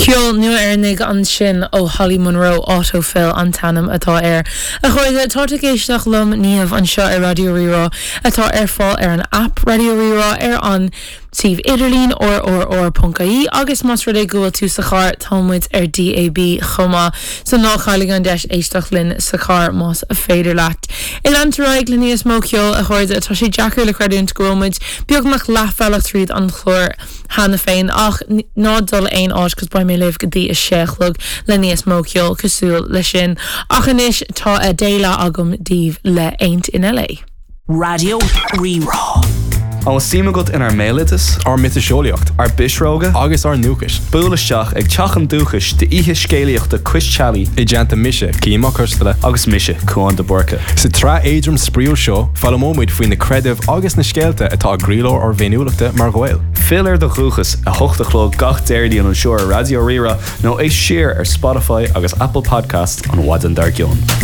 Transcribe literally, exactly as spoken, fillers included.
Ceol nua Éireannach ansin ó Holly Monroe Autofill an t-ainm atá air. A chairde tá ag éisteacht liom Niamh anseo ar Raidió Rí-Rá atá ar fáil ar an app Raidió Rí-Rá ar an suíomh idirlín rrr.ie agus más rud é go bhfuil tú sa charr tá muid ar DAB chomh maith so ná caill an deis éisteacht linn sa charr más féidir leat. I leantóráig le níos mó ceol a chairde tá sé deacair le creidiúint go bhfuil muid beagnach leathbhealach tríd an chlár cheana féin ach ná dul aon áit cos beidh mé libh go dtí a sé a chlog le níos mó ceol cosúil le sin ach anois tá a dhéile agam daoibh le Ain't in LA. Raidió Rí-Rá. An suim agat inár mbéaloideas, ár miotaseolaíocht ár bpisreoga, agus ár ndúchas. Buail isteach ag Teach an Dúchais d'oíche scéalaíochta Cois Teallaigh I dteannta mise Cian Mac Coisteala agus mise Cuán de Búrca. Sa tsraith éadrom spraíúil seo foghlaimeoimid faoi na creidimh agus na scéalta atá i gcroílár ár bhféiniúlachta mar Ghaeil. Fill ar do dhúchas a hocht a chlog gach Déardaoin anseo ar Raidió Rí-Rá nó éist siar ar Spotify agus Apple Podcast an mhaidin dár gcionn.